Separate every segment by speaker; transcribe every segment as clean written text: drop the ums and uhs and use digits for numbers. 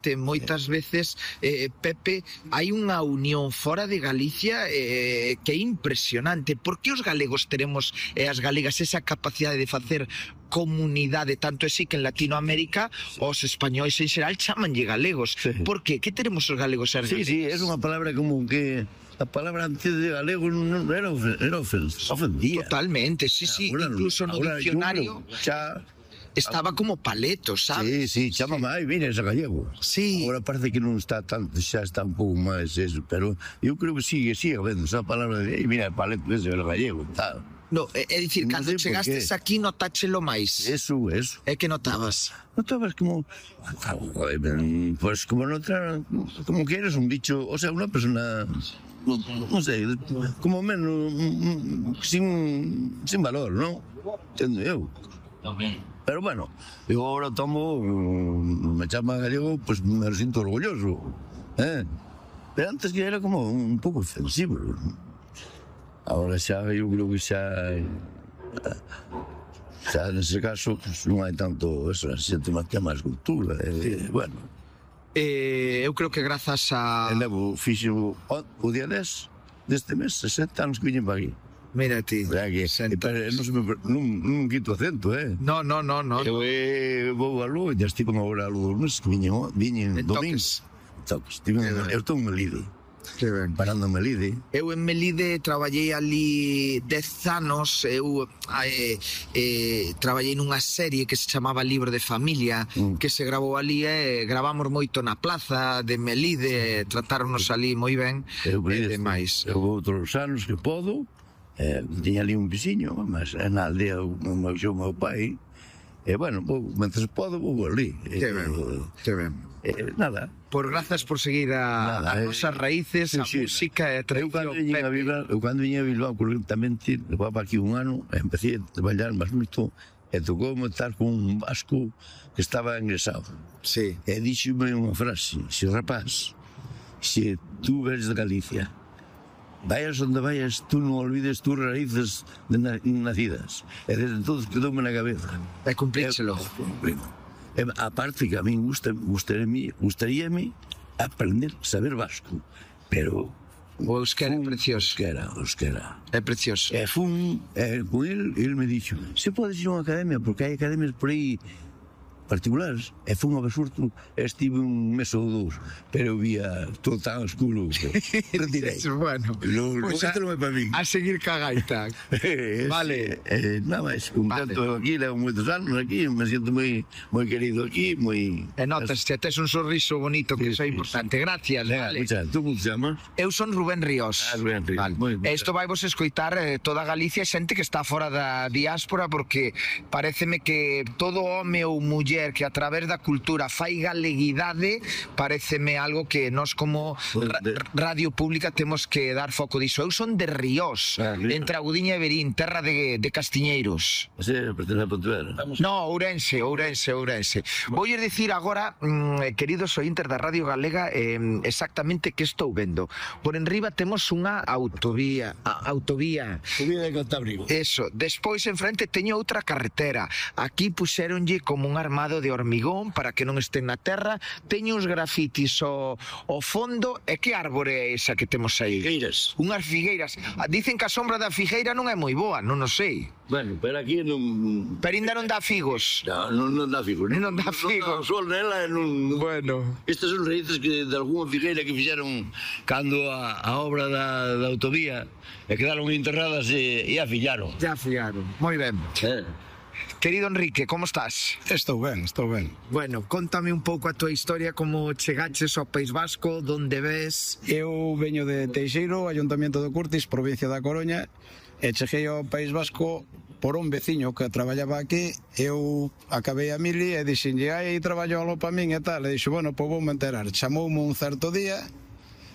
Speaker 1: Moitas veces, Pepe, hai unha unión fora de Galicia que é impresionante. Por que os galegos teremos e as galegas esa capacidade de facer comunidade, tanto así que en Latinoamérica os españois en xeral chamanlle galegos?
Speaker 2: Sí.
Speaker 1: Por que? Que teremos os galegos ser galegos?
Speaker 2: Sí, é unha palabra como que a palabra antes de galego non era ofendía.
Speaker 1: Totalmente, sí, incluso no diccionario estaba como paleto, sabes?
Speaker 2: Sí, chama máis, vines a gallego.
Speaker 1: Sí.
Speaker 2: Agora parece que non está tanto, xa está un pouco máis eso, pero eu creo que sigue habendo esa palabra de, mira, paleto ese é o gallego, tal.
Speaker 1: No, é dicir,
Speaker 2: Non
Speaker 1: cando
Speaker 2: sei por
Speaker 1: chegastes
Speaker 2: qué.
Speaker 1: aquí notáchelo máis.
Speaker 2: Eso.
Speaker 1: É que notabas?
Speaker 2: Notabas como, pues como noutra, como que eres un bicho, o sea, unha persona, non sei, como menos, sin valor, non? Entendo eu. Pero bueno, eu agora tomo, me chama gallego, pues me sinto orgulloso, Pero antes que era como un pouco ofensivo. Agora xa, eu creo que xa nese caso, pues, non hai tanto eso, xente máis que máis cultura, bueno.
Speaker 1: Eu creo que grazas a...
Speaker 2: Levo, fixo o día 10 deste mes, 60 anos que viñen para aquí.
Speaker 1: Mira ti.
Speaker 2: Non quito acento,
Speaker 1: No.
Speaker 2: Eu vou a Lugo, já estive agora a Lugo dos meses, que viñen domingos. Eu estou en Melide, parando en Melide.
Speaker 1: Eu en Melide traballei ali 10 anos. Eu traballei nunha serie que se chamaba Libro de Familia, que se gravou ali, gravamos moito na plaza de Melide, tratáronos ali moi ben, e demais.
Speaker 2: Eu vou outros anos que podo, tiña ali un veciño, mas na aldea o meu pai, e bueno, mentre podo vou ali.
Speaker 1: Que ben.
Speaker 2: Nada.
Speaker 1: Por grazas por seguir a nosas raíces, a música e a tradición.
Speaker 2: Eu cando viña a Bilbao, correctamente, levaba aquí un ano, empecé a traballar máis moito, e tocoume estar con un vasco que estaba ingresado.
Speaker 1: Sí.
Speaker 2: E díxome unha frase: se rapaz, se tú eres de Galicia, vayas onde vayas, tú non olvides tus raíces nacidas. E desde entonces quedoume na cabeza.
Speaker 1: E cumplírselo.
Speaker 2: Aparte que a mí gustaríame aprender a saber vasco, pero
Speaker 1: o euskera é precioso.
Speaker 2: Euskera.
Speaker 1: É precioso.
Speaker 2: E fun con el me dixo: se podes ir a unha academia, porque hai academias por aí particulares, e fun ao Basurto, estive un mes ou dous, pero vía todo tan oscuro que retirei.
Speaker 1: Bueno,
Speaker 2: pues non é para mí.
Speaker 1: A seguir ca gaita. Vale.
Speaker 2: Nada máis, contento aquí, levo moitos anos aquí, me siento moi querido aquí, moi...
Speaker 1: E notas, que tes un sorriso bonito, que iso é importante. Gracias, vale.
Speaker 2: Tú como te chamas?
Speaker 1: Eu son Rubén Ríos.
Speaker 2: Rubén Ríos.
Speaker 1: Vale. Isto vai vos escoitar toda Galicia, xente que está fora da diáspora, porque pareceme que todo home ou muller que a través da cultura fai galeguidade, pareceme algo que nós como radio pública temos que dar foco diso. Eu son de Ríos, entre Agudiña e Verín, terra de castiñeiros.
Speaker 2: Pertence a Pontevedra?
Speaker 1: No, Ourense. Voulle dicir agora, queridos ointes da Radio Galega, exactamente que estou vendo. Por enriba temos unha autovía.
Speaker 2: Subida de Cantábrico.
Speaker 1: Eso, despois en frente teño outra carretera. Aquí puxéronlle como un armado de hormigón para que non estén na terra. Teño uns grafitis ao fondo. E que árbore é esa que temos aí?
Speaker 2: Figueiras.
Speaker 1: Unhas figueiras. Dicen que a sombra da figueira non é moi boa, non o sei.
Speaker 2: Bueno, pero aquí non...
Speaker 1: Pero ainda non dá figos.
Speaker 2: Non dá figos.
Speaker 1: Non dá figos.
Speaker 2: Non dá sol nela, non...
Speaker 1: Bueno.
Speaker 2: Estas son raíces que de algunha figueira que fixeron cando a obra da autovía, e quedaron enterradas e afillaron.
Speaker 1: Ya afillaron. Moi ben. Querido Enrique, como estás?
Speaker 3: Estou ben.
Speaker 1: Bueno, contame un pouco a tua historia, como chegaches ao País Vasco, donde ves...
Speaker 3: Eu veño de Teixeiro, Ayuntamiento de Curtis, provincia da Coruña, e cheguei ao País Vasco por un veciño que traballaba aquí. Eu acabei a mili e dixenlle: hai traballo algo para min e tal. E dixo: bueno, pois vou me enterar. Chamoume un certo día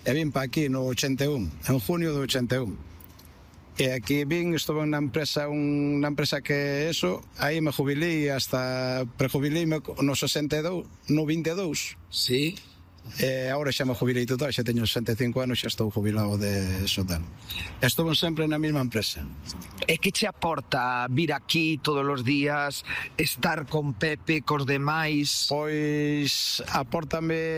Speaker 3: e vim para aquí no 81, en junio do 81. E aquí vin, estuve na empresa que eso, aí me jubilei hasta prejubileime no 62, no 22.
Speaker 1: Sí.
Speaker 3: E agora xa me jubilei total, xa teño 65 anos, xa estou jubilado de sotano. Estou sempre na mesma empresa.
Speaker 1: E que che aporta vir aquí todos os días, estar con Pepe, cos demais?
Speaker 3: Pois apórtame